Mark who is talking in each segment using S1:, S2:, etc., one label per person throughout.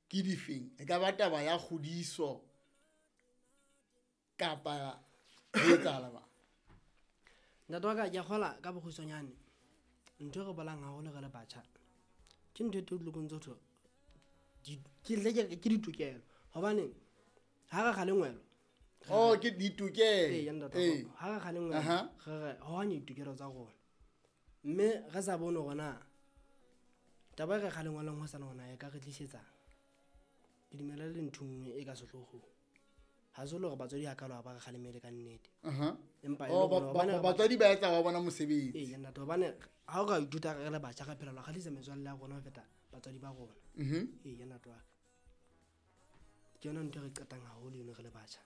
S1: Ke difeng? E ka ba taba ya kgodiso kapa ho etsahala ba?
S2: Ntate wa ka, ke a kgola ka bokgutshwanyane ntho e re bolang haholo re le batjha ke ntho e teng tse thwe ke ditokelo, hobane ha re kgalengwelo.
S1: Oh, ke ditokelo.
S2: Ee, ntate, ha re kgalengwelo re re hohanya ditokelo tsa rona, mme re sa bone hore na taba e re kgalengweleng ho sana hona e ka re tlisetsang. Ke dumela le ntho nngwe e ka sehloohong. Ha se le hore batswadi hakalo ha ba re kgalemele ka nnete. Empa e le
S1: Oh,
S2: hore hobane re
S1: batswadi ba etsa wa bona mosebetsi.
S2: Ee, ntate, hobane ha o ka ithuta re le batjha re phela lo kgahlisa metswalle ya rona ho feta batswadi ba rona. Ee, ntate wa ka. Ke yona ntho e re qetang haholo eno re le batjha.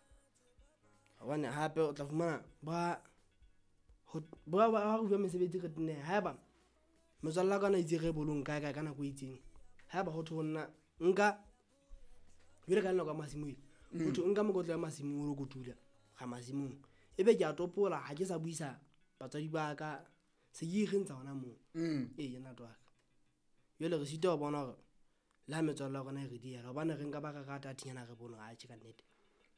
S2: Hobane hape o tla fumana ba ho ba re bua mesebetsi re tenne, haeba metswalle ya ka na itse re bolong kae kae ka nako e itseng, haeba ho thwe ho nna nka jwale ka nako ya masimo e, ho thwe nka mokotla ya masimong o lo kotula ga masimong, ebe ke a topola ha ke sa buisa batswadi ba ka, se ke ikgentsha hona moo. Ee, ntate wa ka. Jwale re sitwa ho bona hore le ha metswalle ya rona e re diela, hobane re nka ba re rata thinyana re bone hore atjhe ka nnete.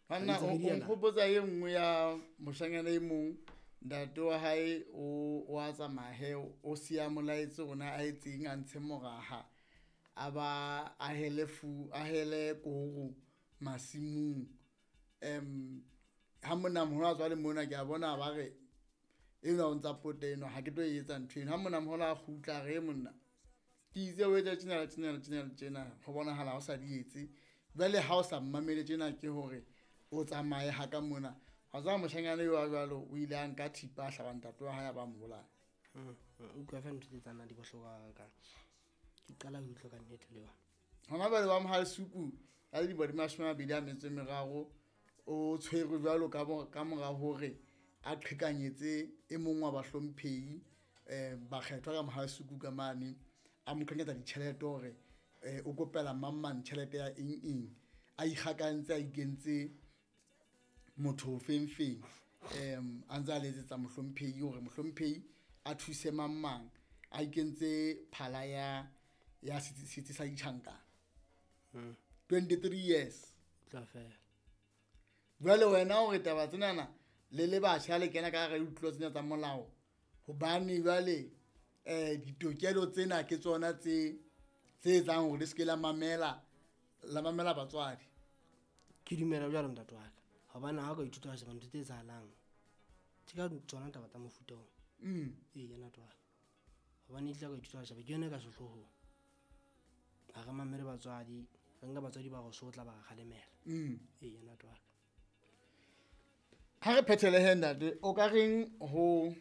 S1: Banna,
S2: Re ntse re
S1: o
S2: diela.
S1: nkgopotsa e nngwe ya moshanyana e mong, ntate wa hae o a tsamaya he, o siya molaetsa ona a etseng a ntshe moraha, a ba a hele fu, a hele koro masimong. Ha monna moholo a tswa le mona, ke a bona ba re enwa o ntsa pota enwa, ha ke tlo e etsa ntho eno. Ha monna moholo a kgutla, a re, monna, ke itse o etsa tjena le tjena le tjena le tjena, ho bonahala ha o sa di etse. Jwale ha o sa mmamele tjena ke hore o tsamaye ha ka mona. Wa tseba moshanyana eo wa jwalo o ile a nka thipa a hlaba ntate wa hae a ba mo bolaya.
S2: Utlwa feela ntho tse tsanang di bohloko hakakang. Ke qala ho utlwa ka nnete le yona.
S1: Hona jwale wa Mohalesuku a le dilemo di 23 o tshwerwe jwalo ka mora hore a qhekanyetse e mong wa bahlomphehi, bakgethwa ka Mohalesuku ka mane, a mo qhekanyetsa ditjhelete hore, o kopela mang mang tjhelete ya eng eng, a ikgakantse a ikentse motho feng feng, a ntse a letsetsa mohlomphehi hore mohlomphehi a thuse mang mang, a ikentse phala ya setsi sa ditjhankana. 23 years.
S2: Tla fela.
S1: Jwale wena hore taba tsenana le le batjha le kena ka hara ditlolo tsena tsa molao, hobane jwale, ditokelo tsena ke tsona tse etsang hore le se ke la mamela, la mamela batswadi.
S2: Ke dumela jwalo ntate wa ka, hobane ha o ka ithuta ho sheba ntho tse etsahalang, ke ka tsona taba tsa mofuta oo. Ee, ntate wa ka. Hobane e tla ka ithuta ho sheba ke yona e ka sehloohong. Ha re mamele batswadi, re nka batswadi ba re sotla ba re kgalemela. Ee, ntate wa ka.
S1: Ha re phethele he ntate, o ka reng ho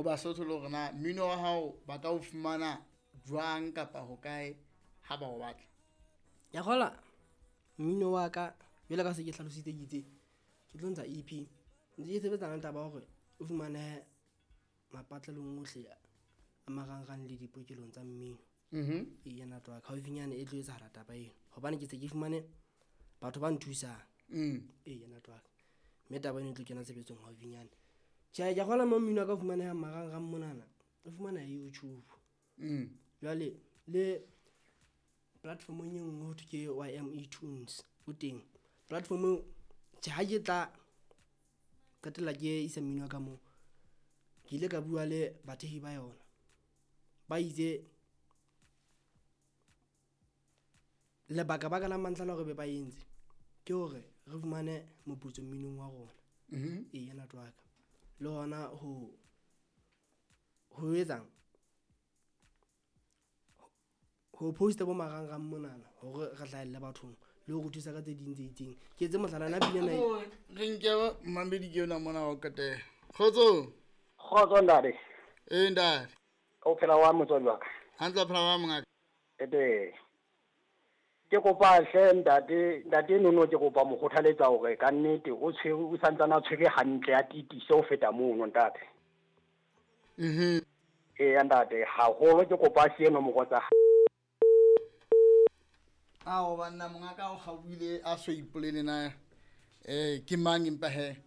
S1: Basotho le hore na mmino wa hao ba ka o fumana jwang kapa hokae ha ba o batla?
S2: Ya kgola mmino wa ka jwale ka se ke hlalositse ke itse ke tlo ntsha EP, ntse ke sebetsana le taba ya hore o fumane mapatlelong ohle a marangrang le dipokelong tsa mmino. Ee, ntate wa ka, haufinyane e tlo etsahala taba eno, hobane ke se ke fumane batho ba nthusang. Ee, ntate wa ka, mme taba eno e tlo kena tshebetsong haufinyane. Tjhe, ke a kgolwa mo mmino wa ka o fumanehang marangrang monana, o fumaneha YouTube. Jwale le platformong e nngwe ho thwe ke YME Tunes, o teng platform eo. Tjhe, ha ke tla qetella ke isa mmino wa ka moo, ke ile ka bua le bathehi ba yona, ba itse lebaka baka la mantlha la hore be ba entse ke hore re fumane moputso mminong wa rona. Ee, ntate wa ka. Le hona ho etsang ho posta bo marangrang monana hore re hlahelle bathong le ho re thusa ka tse ding tse itseng. Ke etse mohlala na pina ena e-
S1: Re nke mmamedi ke yona mona wa ho qetela. Kgotso.
S3: Kgotso ntate.
S1: Ee ntate.
S3: O phela wa motswadi wa ka?
S1: Hantle o phela wa mongaka.
S3: Ete. Ke kopa hle ntate, ntate Nono ke kopa mo kgothaletsa hore ka nnete o tshwere, o santsane a tshwere hantle a tiise ho feta mono ntate. Eya ntate, haholo ke kopa a siye nomoro tsa
S1: Ao banna mongaka o kgaohile a so ipolele na, ke mang empa he